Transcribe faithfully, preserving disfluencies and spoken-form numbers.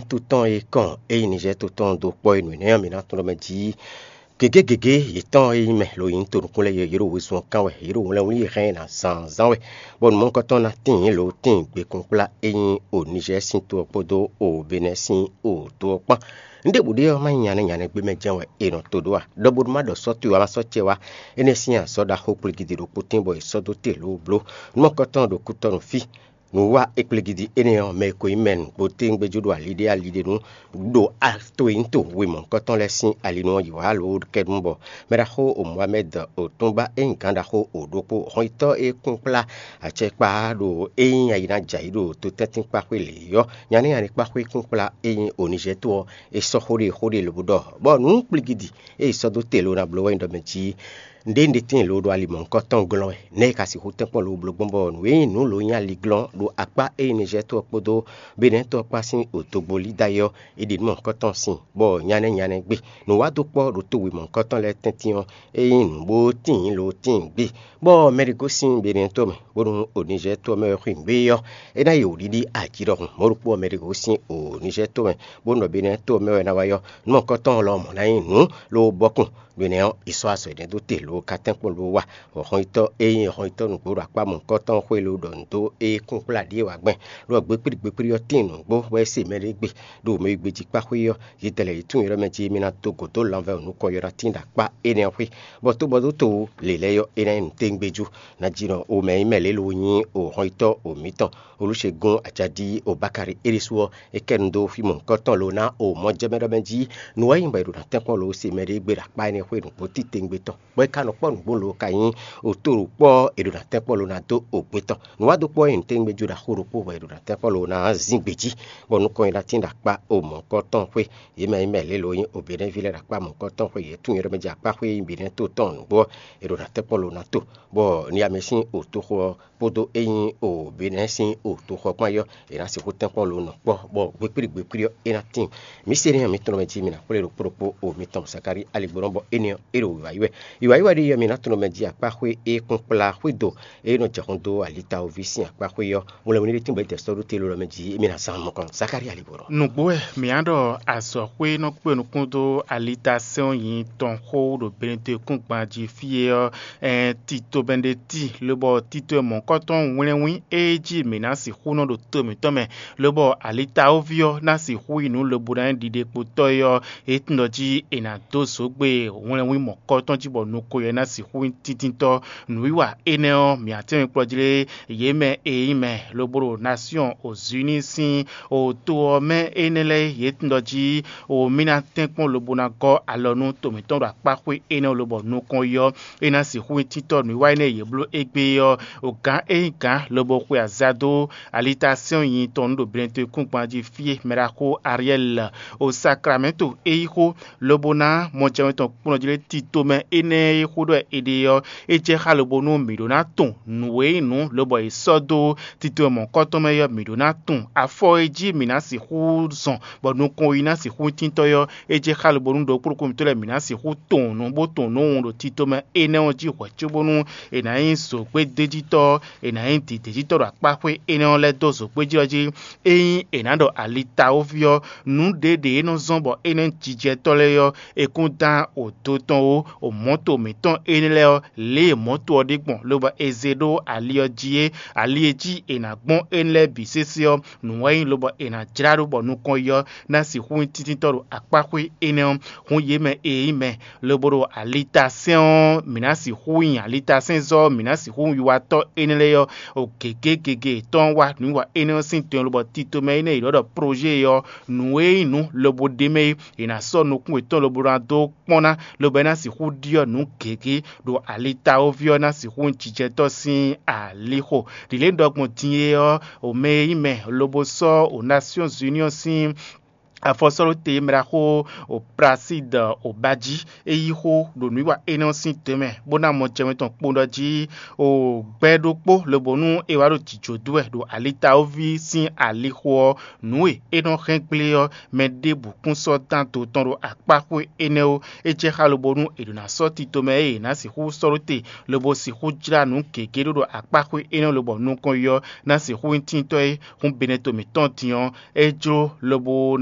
To tɔn e kɔn ényí Nizɛ́ɛ to tɔn dó kpɔ́ e nǔ énɛ́ ɔ́, mǐ ná tunwun ɖɔ mɛ jí gěgé gěgé yětɔn e nyí mɛ lo nyí to nukún lɛ́ɛ é, yě ɖo wezun ɔ́ kán wɛ, yě ɖo wlɛnwlí e hɛn ɛ ná zǎnzǎn wɛ, bɔ nǔmɔkɔtɔn ná tíin lo tíin gbekúnkplá e nyí o Nizɛ́ɛ sín to ɔ́ kpódó o Benɛ́ɛ sín o to ɔ́ kpán. Nǔɖěbǔ ɖé ɔ́, má nyí nyanɛ́ nyanɛ́ gbé mɛ jɛ́n wɛ è nɔ to ɖó a? Ɖɔ bónú má ɖɔ sɔ́ towe wá, má sɔ́ acɛ wá. Énɛ́ sín azɔ̌ ɖaxó kplígídí ɖokpó tíin bɔ è sɔ́ dó te lǒbló. Nǔmɔkɔtɔn ɖo kútɔ́ nú fí. Nǔ wa é kplígídí énɛ́ ɔ́, mɛ e ko nyí mɛ nǔgbó téwúngbéjú ɖo ali ɖé ali ɖé nu ɖo to e nyí to wemɔ̌kɔtɔn lɛ́ɛ sín ali nu ɔ́ yi wǎ alo kɛ́ɖú bɔ mɛ ɖaxó o Mohamɛ́d o túnba e nyí gǎn ɖaxó o ɖokpó hɔnyitɔ́ e kún kplá acɛkpa ɖo é nyí ayi ná jɛ ayǐ ɖo totɛ́ntínkpáxwé lě ɔ́, nyaní nyaní kpáxwé kún kplá e nyí Onizɛ́to ɔ́, è sɔ́ xó ɖé xó ɖé lobo ɖɔ bɔ nǔ kplígídí e è sɔ́ dó te lo ná bló wɛ nyí ɖɔ mɛ jí Nǔɖé un ɖe tíin lo ɖo ali mɔ̌hunkɔ tɔn glɔ́n wɛ, nɛ̌ è ka sixú tɛ́nkpɔ́n lo bló gbɔn bɔ nǔ e nyí nǔ lo nyí ali glɔ́n ɖo akpá e nyí Nizɛ́ɛ to ɔ́ kpódó Benɛ́ɛ to ɔ́ kpá sín odogbo Lída é ɔ́, è ɖe nǔ mɔ̌hunkɔ tɔn sin, bɔ nyanɛ nyanɛ gbe. Nǔ wa dó kpɔ́ ɖo to wěmɔ̌hunkɔ tɔn lɛ́ɛ tɛ́ntin ɔ́, é nyí nǔ bó tíin lo tíin gbe, bɔ mɛ ɖé gosín Benɛ́ɛ to mɛ, bónú o Nizɛ́ɛ to ɔ́ mɛ wɛ xwin gbé ɔ́, é ná yi wǔɖiɖi aji ɖɔhun. Mɔ̌ ɖokpó ɔ́, mɛ ɖé gosín o Nizɛ́ɛ to mɛ, bónú ɖɔ Benɛ́ɛ to ɔ́ mɛ wɛ ná wá yi ɔ́, nǔ mɔ̌hunkɔ tɔn lɔ mɔ̌ ná nyí nǔ ló bɔ́kun. Mɛ nɛ́ ɔ́, è sɔ́ azɔ̌ énɛ́ dó te lo ka tɛ́nkpɔ́n lo wa. Hɔnyitɔ́ e nyí hɔnyitɔ́ nǔgbó ɖo akpá mɔ̌hunkɔ tɔn xwé lo ɖɔ nǔ dó é kún kplá ɖíe wá gbɛn, ɖɔ gbékplígbékplí ɔ́ tíin nǔgbó bɔ é se mɛ ɖé gbe ɖo mɛ e gbejí kpá xwé ɔ́, yědɛɛ lɛ́ɛ yě tunwun ylɔ́ mɛ jí émí ná dó gǒ dó lanvɛ́ nukɔn ɔ́ ná tín ɖo akpá énɛ́ ɔ́ xwé, bɔ tó bɔ dó to lě lɛ́ɛ ɔ́, é ná nyí nǔtɛ́ngbéjú. Ná jí nɔ omɛ nyí mɛ lě lo nyí o hɔnyitɔ́ o mǐtɔn. Olúṣegún Acadí Obakari é ɖésú ɔ́, é kɛ nu dó fí mɔ̌hunkɔtɔn lo ná o mɔjɛmɛ ɖɔ mɛ jí nǔ wɛ nyí bɔ è ɖo ná tɛ́nkpɔ́n lo se mɛ ɖé gbe ɖo akpá énɛ́ xwé nǔgbó titewungbe tɔn, bɔ é ka nɔ kpɔ́ nǔgbó lo ka nyí oto ɖo kpɔ́ è ɖo ná tɛ́nkpɔ́n lo ná dó ogbe tɔn. Nǔ wa dó kpɔ́ nyí nǔtɛngbéjú ɖaxó ɖokpó bɔ è ɖo ná tɛ́nkpɔ́n lo ná zín gbe jí, bɔ nukɔn nyi ná tín ɖo akpá o mɔ̌hunkɔtɔn xwé. Yě mɛ nyí mɛ lě lo nyí Obɛnɛ́ví lɛ́ɛ ɖo akpá mɔ̌hunkɔtɔn xwé, yě tunwun yě ɖɔ mɛ jí akpá xwé nyí Benɛ́ to tɔn nǔgbó ɔ́, è ɖo ná tɛ́nkpɔ́n lo ná to, bɔ ní amɛ sín otoxo ɔ́ kpódó é nyí o Benɛ́ sín otoxo ɔ́ kpán ɔ́, è nǎ sixú tɛ́nkpɔ́n lo nɔ kpɔ́, bɔ gbekpíɖi gbekpíɖi ɔ́, é ná tíin. Mǐ se énɛ́ ɔ́, mǐ tɔn mɛ jí mi ná xwlé ɖokpó ɖokpó o mitɔn Zakalíi aligbɔnɔ, bɔ énɛ́ ɔ́, é ɖo wǐwá yi wɛ. Wǐwá yi wɛ ɖíe ɔ́, mi ná tunɔ mɛ jí akpá xwé e kún kplá xwé do e nɔ jɛ xɔn dó alitawoví sín akpá xwé ɔ́, mlɛ́ mɛ ní ɖé tínbɔ é dɛ sɔ́ ɖó te lɔ mɛ jí mi ná zán mɔkɔn Zakalíi aligbɔnɔ. Nǔgbó wɛ mǐ á ɖɔ azɔ̌xwé nɔ kpé nukún dó alita sɛ́n ɔ́ nyi tɔn xó ɖo Benedekúngban jí fí e ɔ́, ɛn tito mɛ ɖé ti, lobɔ tito e mɔ̌kɔtɔn wlɛ́nwín e jí mǐ ná sixú nɔ ɖo to mǐtɔn mɛ, lobɔ alitawoví ɔ́ ná sixú yi nǔ lobo ná nyí ɖiɖekpotɔ́ é ɔ́, é tunwun ɖɔ jí è nǎ dó zǒgbe wlɛ́nwín mɔ̌kɔtɔn jí bɔ nukɔn yɛ ná sixú nyí tíntítɔ́. Nǔwiwa énɛ́ ɔ́, mǐ atɛ́nwikplɔ́ jí lé yě mɛ e nyí mɛ lobo ɖo Nasyɔn Ozuni sín o to ɔ́ mɛ énɛ́ lɛ́ɛ yě tunwun ɖɔ jí o mǐ ná tɛ́nkpɔ́n lobo ná gɔ́ alɔ nú to mǐtɔn ɖo akpá xwé énɛ́ lobɔ nukɔn yi ɔ́, é ná sixú nyí títɔ́ nǔwiwa énɛ́ e yě bló égbé ɔ́. O gǎn e nyí gǎn lobo xwe aza dó alita sɛ́n nyi tɔn nú ɖo Benedekúngban jí fí e mɛ ɖaxó Ariɛ́li o Sakramɛ́nto é yí xó, lobo ná mɔjɛmɛ tɔn kplɔ́n jí lé tito mɛ énɛ́ e xó ɖɔ è ɖe ɔ́, é jɛ xá lobo nú mǐ ɖó ná tunwun nǔ e nyí nǔ lobɔ è sɔ́ dó tito e mɔ̌kɔtɔn mɛ ɔ́, mǐ ɖó ná tunwun afɔ e jí mǐ ná sixú zɔn bɔ nukɔn yi ná sixú tíntɔ́ ɔ́, é jɛ xá lobo nú ɖokpó ɖokpó mǐtɔn lɛ́ɛ mǐ ná sixú tunwun nǔ bó tunwun nǔ ɖo tito mɛ énɛ́ ɔ́ jí hwɛ̌ cóbónú è nǎ nyí zǒgbédéjítɔ́, è nǎ nyí dǐdéjítɔ́ ɖo akpá xwé énɛ́ ɔ́ lɛ́ɛ dó zǒgbéjí ɔ́ jí. Ényí è nǎ ɖɔ alitawoví ɔ́, nǔ ɖěɖě e nɔ zɔ́n bɔ é nɔ nyí jijɛtɔ́ lɛ́ɛ ɔ́, è kún dán odo tɔn ó, o mɔ̌to mǐtɔn énɛ́ lɛ́ɛ ɔ́, lě e mɔ̌to ɔ́ ɖe gbɔn, lobo è zé ɖó ali ɔ́ jí é, ali e jí è nǎ gbɔn énɛ́ lɛ́ɛ bǐ sésé ɔ́, nǔ wɛ nyí lobo è nǎ jlá ɖó bɔ nukɔn yi ɔ́ ná sixú nyí tíntítɔ́ ɖo akpá xwé énɛ́ ɔ́. Hǔn yě mɛ e nyí mɛ lobo ɖo alitasɛ́n ɔ́, mǐ ná sixú nyi alitasɛ́nzɔ́, mǐ ná sixú nyi wiwatɔ́ énɛ́ lɛ́ɛ ɔ́, o gěgé gěgé yětɔn wá nǔwiwa énɛ́ ɔ́ sín tɛn lobɔ tito mɛ énɛ́ e yě ɖɔ ɖɔ projet ɔ́, nǔ e nyí nǔ lobo ɖ'é mɛ é, è nǎ sɔ́ nukún yětɔn lobo ná dó kpɔ́n ná, lobo é ná sixú ɖyɔ́ nǔ gěgé ɖo alitawoví ɔ́ ná sixú nyí jijɛtɔ́ sín alixo. Ɖǐlé ɖɔ gbɔn din é ɔ́, o mɛ e nyí mɛ lobo sɔ́ o Nations Union sín Afɔsɔ́ɖóte e mɛ ɖaxó Prasíd Obají é yí xó ɖo nǔwiwa énɛ́ ɔ́ sín tɛnmɛ, bó ná mɔ jɛmɛ tɔn kpowun ɖɔ jí o gbɛ ɖokpó, lobo nú é wá ɖo jǐjó dó wɛ ɖo alitawoví sín alixo ɔ́, nǔ e é nɔ hɛn gblé ɔ́, mɛ ɖěbǔ kún sɔ́ dán do tɔn ɖo akpáxwé énɛ́ ó. É jɛ xá lobo nú è ɖǒ ná sɔ́ tito mɛ e è nǎ sixú sɔ́ ɖó te, lobo sixú jlá nǔ gěgé ɖó ɖo akpáxwé énɛ́ lobɔ nukɔn yi ɔ́ ná sixú nyí tíntɔ́ é. Hǔn Benɛto mǐtɔn din ɔ́, é jló lobo ná